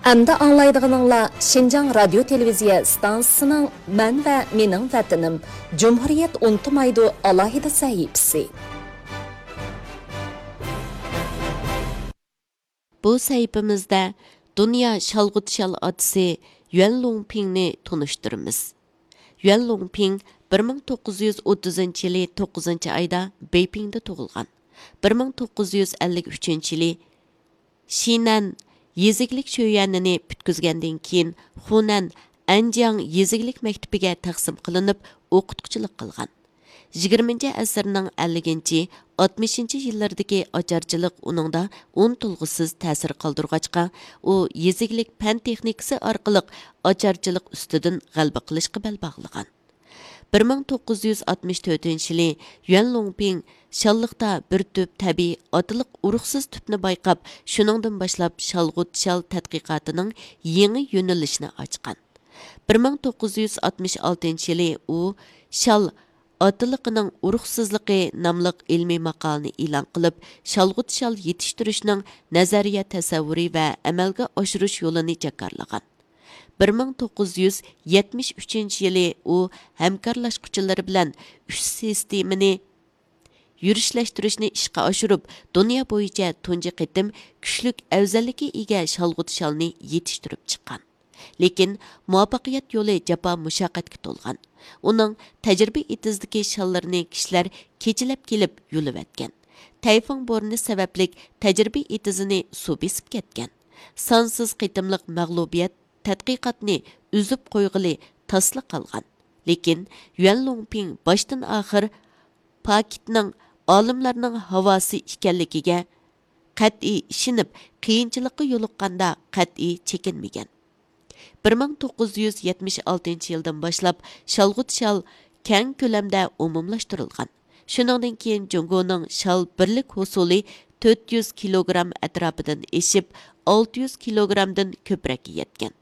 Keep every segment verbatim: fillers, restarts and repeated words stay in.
ئەمدى ئاڭلايدىغىنىڭلار شىنجاڭ رادىيو تېلېۋىزىيە ئىستانسىسىنىڭ مەن ۋە مېنىڭ ۋەتىنىم، جۇمھۇرىيەت ئۇنتۇمايدۇ ئالاھىدە سەھىپىسى. بۇ سەھىپىمىزدە دۇنيا شالغۇت شال ئاتىسى يۈەن لۇڭپىڭنى تونۇشتۇرىمىز. يۈەن لۇڭپىڭ بىر مىڭ توققۇز يۈز ئوتتۇزىنچى يىلى توققۇزىنچى ئايدا بېيپىڭدا تۇغۇلغان. بىر مىڭ توققۇز يۈز ئەللىك ئۈچىنچى يىلى شىنەن يېزا ئىگىلىك شۆيۈەنىنى پۈتكۈزگەندىن كېيىن، خۇنەن ئەنجياڭ يېزا ئىگىلىك مەكتىپىگە تەقسىم قىلىنىپ، ئوقۇتقۇچىلىق قىلغان. يىگىرمىنچى ئەسىرنىڭ ئەللىكىنچى، ئاتمىشىنچى يىللىرىدىكى ئاچارچىلىق ئۇنىڭدا ئۇنتۇلغۇسىز تەسىر قالدۇرغاچقا، ئۇ يېزا ئىگىلىك پەن تېخنىكىسى ئارقىلىق ئاچارچىلىق ئۈستىدىن غەلىبە قىلىشقا بەل باغلىغان. بىر مىڭ توققۇز يۈز ئاتمىش تۆتىنچى يىلى يۈەن لۇڭپىڭ شاللىقتا بىر تۈپ تەبىئىي ئاتىلىق ئۇرۇقسىز تۈپنى بايقاپ، شۇنىڭدىن باشلاپ شالغۇت شال تەتقىقاتىنىڭ يېڭى يۆنىلىشىنى ئاچقان. بىر مىڭ توققۇز يۈز ئاتمىش ئالتىنچى يىلى ئۇ شال ئاتىلىقىنىڭ ئۇرۇقسىزلىقى ناملىق ئىلمىي ماقالىنى ئېلان قىلىپ، شالغۇت شال يېتىشتۈرۈشنىڭ نەزەرىيە تەسەۋۋۇرى ۋە ئەمەلگە ئاشۇرۇش يولىنى جاكارلىغان. بىر مىڭ توققۇز يۈز يەتمىش ئۈچىنچى يىلى ئۇ ھەمكارلاشقۇچىلىرى بىلەن ئۈچ سىستېمىنى يۈرۈشلەشتۈرۈشنى ئىشقا ئاشۇرۇپ، دۇنيا بويىچە تۇنجى قېتىم كۈچلۈك ئەۋزەللىككە ئىگە شالغۇت شالنى يېتىشتۈرۈپ چىققان. لېكىن مۇۋەپپەقىيەت يولى جاپا مۇشەققەتكە تولغان. ئۇنىڭ تەجرىبە ئېتىزىدىكى شاللىرىنى كىشىلەر كېچىلەپ كېلىپ يۇلۇۋەتكەن. تەيفۇڭ بورىنى سەۋەبلىك تەجرىبە ئېتىزىنى سۇ بېسىپ كەتكەن. سانسىز قېتىملىق مەغلۇبىيەت تەتقىقاتنى ئۈزۈپ قويغىلى تاسلا قالغان. لېكىن يۈەن لۇڭپىڭ باشتىن ئاخىر پاكىتنىڭ ئالىملارنىڭ ھاۋاسى ئىكەنلىكىگە قەتئىي ئىشىنىپ، قىيىنچىلىققا يولۇققاندا قەتئىي چېكىنمىگەن. بىر مىڭ توققۇز يۈز يەتمىش ئالتىنچى يىلدىن باشلاپ شالغۇت شال كەڭ كۆلەمدە ئومۇملاشتۇرۇلغان. شۇنىڭدىن كېيىن جۇڭگونىڭ شال بىرلىك ھوسۇلى تۆت يۈز كىلوگرام ئەتراپىدىن ئېشىپ، ئالتە يۈز كىلوگرامدىن كۆپرەككە يەتكەن.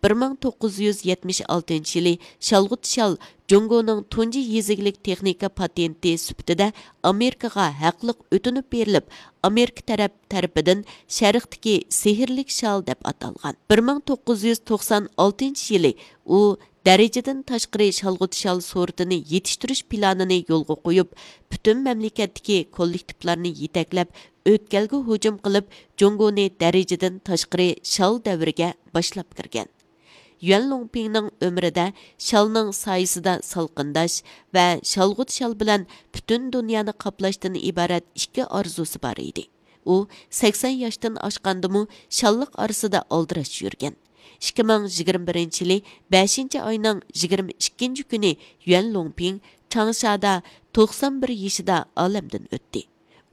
بىر مىڭ توققۇز يۈز يەتمىش ئالتىنچى يىلى شالغۇت شال جۇڭگونىڭ تۇنجى يېزا ئىگىلىك تېخنىكا پاتېنتى سۈپىتىدە ئامېرىكىغا ھەقلىق ئۆتۈنۈپ بېرىلىپ، ئامېرىكا تەرەپ تەرىپىدىن شەرقتىكى سېھىرلىك شال دەپ ئاتالغان. بىر مىڭ توققۇز يۈز توقسان ئالتىنچى يىلى ئۇ دەرىجىدىن تاشقىرى شالغۇت شال سورتىنى يېتىشتۈرۈش پىلانىنى يولغا قويۇپ، پۈتۈن مەملىكەتتىكى كوللېكتىپلارنى يېتەكلەپ، ئۆتكەلگە ھۇجۇم قىلىپ، جۇڭگونى دەرىجىدىن تاشقىرى شال دەۋرىگە باشلاپ كىرگەن. يۈەن لۇڭپىڭنىڭ ئۆمرىدە شالنىڭ سايىسىدا سالقىنداش ۋە شالغۇت شال بىلەن پۈتۈن دۇنيانى قاپلاشتىن ئىبارەت ئىككى ئارزۇسى بار ئىدى. ئۇ سەكسەن ياشتىن ئاشقاندىمۇ شاللىق ئارىسىدا ئالدىراش يۈرگەن. ئىككى مىڭ يىگىرمە بىرىنچى يىلى بەشىنچى ئاينىڭ يىگىرمە ئىككىنچى كۈنى يۈەن لۇڭپىڭ چاڭشادا توقسان بىر يېشىدا ئالەمدىن ئۆتتى.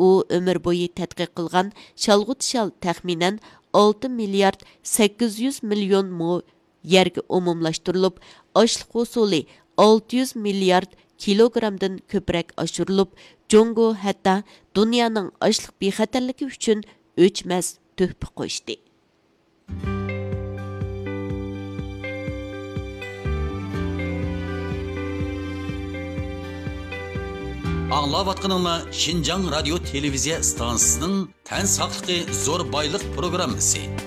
ئۇ ئۆمۈر بويى تەتقىق قىلغان شالغۇت شال تەخمىنەن ئالتە مىليارد سەككىز يۈز مىليون مو يەرگە ئومۇملاشتۇرۇلۇپ، ئاشلىق ھوسۇلى ئالتە يۈز مىليارد كىلوگرامدىن كۆپرەك ئاشۇرۇلۇپ، جۇڭگو ھەتتا دۇنيانىڭ ئاشلىق بىخەتەرلىكى ئۈچۈن ئۆچمەس تۆھپە قوشتى. ئاڭلاۋاتقىنىڭلار شىنجاڭ رادىيو تېلېۋىزىيە ئىستانسىسىنىڭ تەن ساقلىقى زور بايلىق پروگراممىسى.